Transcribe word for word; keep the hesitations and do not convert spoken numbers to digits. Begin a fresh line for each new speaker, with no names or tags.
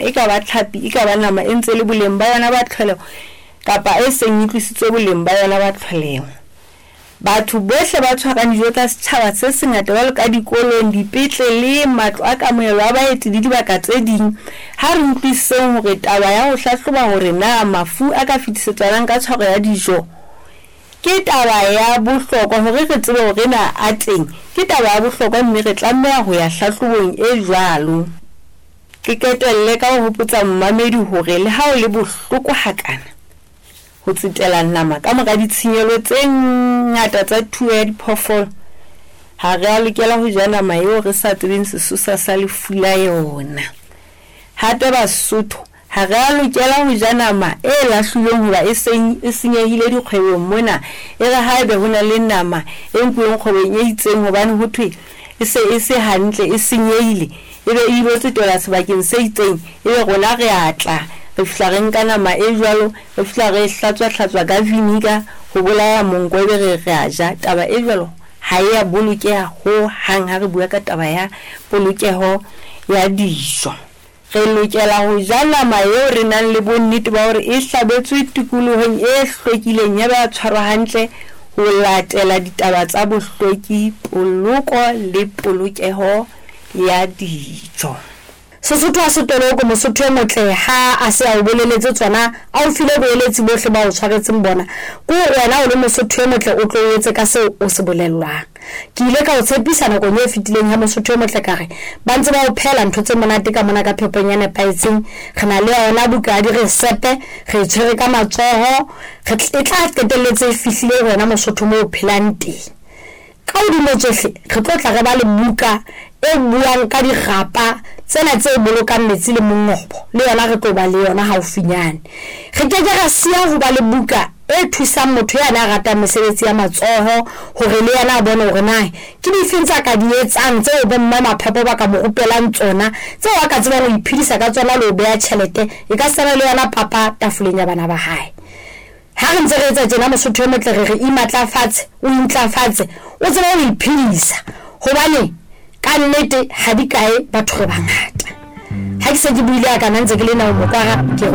E ka ba tlhapi, e ka ba nama e ntse le boleng ba yona ba tlholeho kapa e seng e tlositswe boleng ba yona ba tlholeho. Batho bohle ba tshwarang dijo tsa setjhaba se sengata jwalo ka dikolong, dipetleleng, matlo a kamohelo a baeti le dibaka tse ding, ha re utlwisiseng hore taba ya ho hlahloba hore na mafu a ka fetisetswanang ka tshwaro ya dijo ke taba ya bohlokwa hore re tsebe hore na a teng, ke taba ya bohlokwa mme re tlameha ho ya hlahlobong e jwalo. Ke qetelle ka ho hopotsa momamedi hore le ha ho le bohloko hakana ho tsetela nama ka mora ditshenyehelo tse ngata tsa thuo ya diphoofolo, ha re a lokela ho ja nama eo re sa tsebeng sesosa sa lefu la yona. Hape Basotho ha re a lokela ho ja nama e lahlilweng hoba e seng e senyehile dikgwebong mona. E re haebe ho na le nama e nkuweng kgwebong e itseng hobane ho thwe e se e se hantle, e senyehile, e be e ilo tsetelwa sebakeng se itseng, ebe rona re a tla re fihla re nka nama e jwalo, re fihla re e hlatswa-hlatswa ka vinegar ho bolaya monko, ebe re re a ja. Taba e jwalo ha e ya bolokeha ho hang ha re bua ka taba ya polokeho ya dijo. Re lokela ho ja nama eo re nang le bonnete ba hore e hlabetswe tikolohong e hlwekileng ya ba ya tshwarwa hantle ho latela ditaba tsa bohlweki, poloko le polokeho ya dijo.
Sesotho ha se toloko, Mosotho e motle ha a se a o boleletse tsona, a o file boeletsi bohle ba o tshwaretseng bona, ke hore wena o le Mosotho e motle o tlo o etse ka seo o se bolellwang. Ke ile ka o tshepisa nakong e fetileng ya Mosotho e motle ka re ba ntse ba o phehela ntho tse monate ka mona ka phepong e nepahetseng. Re na le yona buka ya diresepe, re e tshwere ka matsoho, re e tla qetelletse e fihlile ho wena Mosotho moo o phelang teng. Ka hodimo tsohle re tlo tla re ba le buka e buang ka dirapa tsena tse bolokang metsi le mongobo, le yona re tlo ba le yona haufinyane. Re ke ke ra siya ho ba le buka e thusang motho yane a ratang mesebetsi ya matsoho hore le yena a bone hore na ke difeng tsa ka di etsang tseo bomme maphepo ba ka mo rupelang tsona, tseo a ka tsebang ho iphedisa ka tsona le ho beha tjhelete e ka sena le yona papa tafoleng ya bana ba hae. Ha re ntse re etsa tjena Mosotho e motle re re imatlafatse, o intlafatse, o tsebe ho iphedisa hobane ka nnete ha di kae batho re bangata. Ha ke se ke buile ya kana ntse ke le nao mokwara ke re